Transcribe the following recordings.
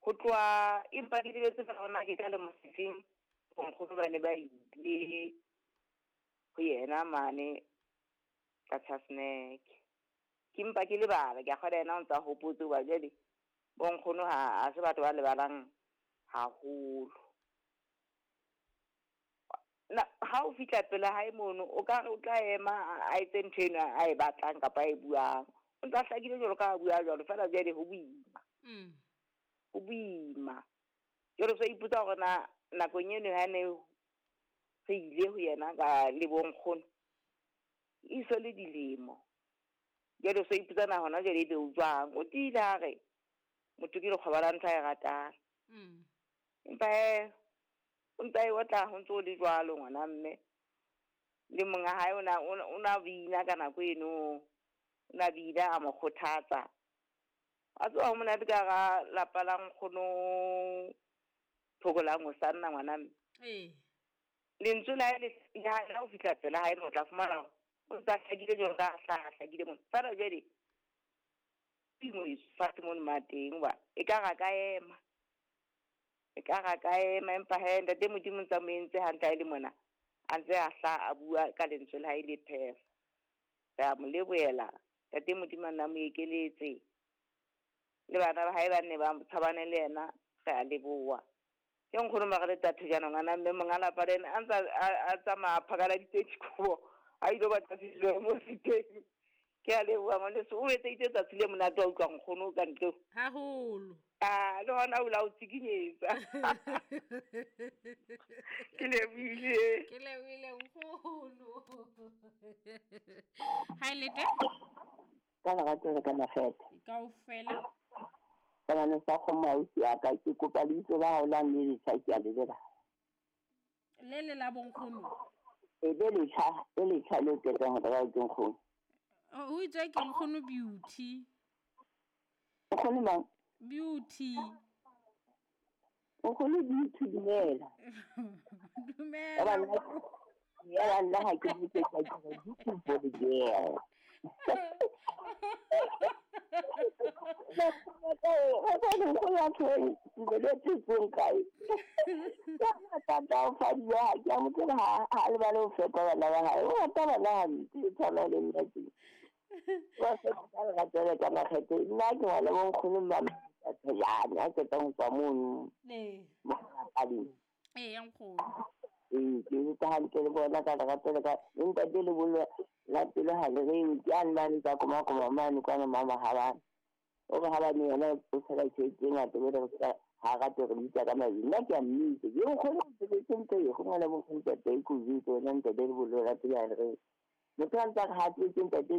Ho tloha empa ke lebetse fela hore na ke ka lemo sefeng bonkgono ba ne ba ile ho yena mane Qacha's Nek. Ke mpa ke lebala, ke a kgolwa yena o ntsa hopotse hoba jwale bonkgono ha se batho ba lebalang haholo. Ha o fihla pela hae mono, o ka re o tla ema a etse ntho eno a e batlang kapa a e buang. O ntsa hlakile jwalo ka ha bua jwalo, feela jwale ho boima. Ho boima. Jwale o sa ipotsa hore na nakong eno ha ne re ile ho yena ka le bonkgono, e so le dilemo. Jwale o so ipotsa na hona jwale ebe o jwang. O tiile a re motho ke lekgoba la ntho a e ratang. Empa hee o ntsa e otla ho ntso le jwalo ngwana mme. Le monga hae o na bina ka nako eno. O na bina a mo kgothatsa. A tswa ho monate ka hara lapa la nkgono Thokolang o sanna ngwana mme. Lentswe la hae le ha o fihla pela hae o tla fumana o ntsa hlakile jwalo ka hlakile mona. Feela jwale fatshe mono mateng hoba e ka ra ka ema. E ka ra ka ema empa hee ntate Modimo ntsa mo entse hantle ha e le mona. A ntse a hla a bua ka lentswe la hae le phefa. Re a mo lebohela. Ntate Modimo a nna mo ekeletse. Le bana ba hae ba nne ba tshabane le yena, re a leboha. Ke nkgono Margaret a Thojana ngwana mme monga lapa le yena a ntsa a tsamaya a phakaladitse dikobo a ilo batla sejo mo seteng. Ke a leboha ngwaneso, o etseditse tsatsi le monate wa utlwa nkgono ka ntle. Haholo. A le hona o la o tsikinyetsa. Ke lebohile. Ke lebohile nkgono. Ha le teng? Ka lerato le ka makgethe. Kaofela. Ka bana sa kgomo ausi ya ka, ke kopa lebitso la hao la mme letjha, ke a le lebala. Le le la bonkgono? E le letjha, le letjha le qetang ho reka ke nkgono. O itswe ke nkgono Beauty. Nkgono mang? Beauty. Nkgono Beauty, dumela. Dumela. Ya nna ha ke botse ka ke re beautiful girl. Ke utlwa hantle le bona ka lerato le ka ntate le bolo la pele ha le re ke a nna tsa koma koma mane kwana mama ha bana o re ha bane yena o tshela tjhelete e ngata be re sa ha rate re bitsa ka mabitso. Nna ke a mmitsa ke nkgono sebetse ntho e go ngwana bo ntate ko bitsa wena ntate le bolo la pele ha le re motho a ntsa re ha tletse ntate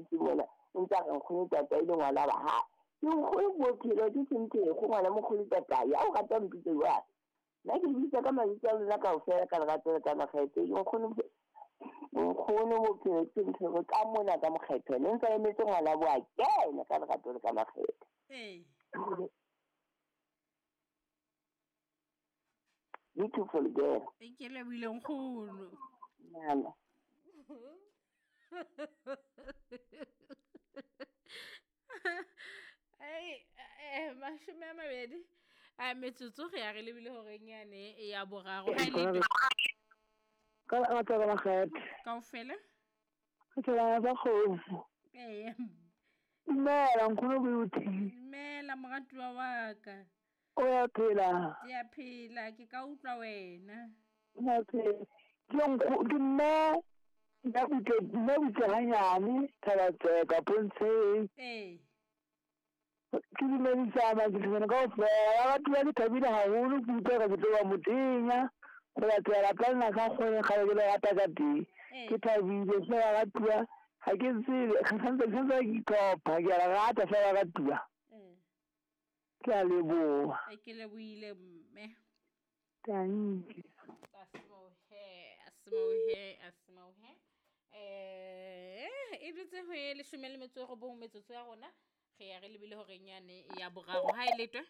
se mona o ntsa re nkgono tata ile ngwana ba ha ke nkgono bophelo ke sentse go ngwana mokgolo tata ya o rata mpitse jwang. Nna ke bitsa ka mabitso a lona kaofela ka lerato le ka makgethe. Nkgono bophelo ke ntho ka mona ka mokgetho ne ntse emetse ngwana bo a kena ka lerato le ka makgethe. Beautiful girl. Ke lebohile nkgono. Nana. Ai mashome a mabedi a metsotso re ya re lebile horeng yane ya boraro. Ha le ka lerato le makgethe. Kaofela? Ke tsela ba kgomo. Dumela nkgono Beauty. Dumela moratuwa wa ka. O ya phela? Ke a phela, ke ka utlwa wena. Ke phela. Ke mme nna butle hanyane Thabatseka Pontsheng. Ke dumedisa makitlana kaofela. Batho ba ke thabile haholo ke utlwa ka ke tlo ba motenya. Go latela lapa lena ka kgone kgale ke le rata ka teng. Ke thabile fela ratuwa ha ke tsebe santse ke itlhopha ke a le rata fela ratuwa. Ke a leboha. Ke lebohile mme. Thank you. Asimohe. E dutse ho e 19 metsotso ya rona. Re ya re lebile horeng yane ya boraro. Ha e letwe?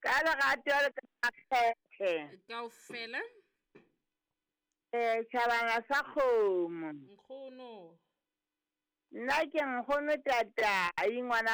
Ka lerato le ka makgethe. Kaofela? Tjhabana sa kgomo. Nkgono. Nna ke nkgono tata, ngwana